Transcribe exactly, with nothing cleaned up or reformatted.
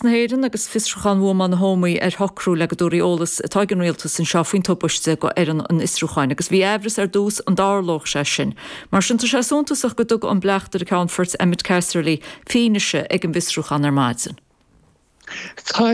Na hÉireann agus fiosrúchán bhuamáil na hÓmaí ar shocrú le go dtabharfaí eolas atá ag an rialtas anseo faoin tubaiste go fhoireann an fhiosrúcháin, agus bhí aimhreas ar dtús an dtarlódh sé sin. Mar sin tá sé suntasach go dtug an bleachtaire Ceannfoirt Emmett Casserly fianaise ag an bhfiosrúchán ar maidin. Tá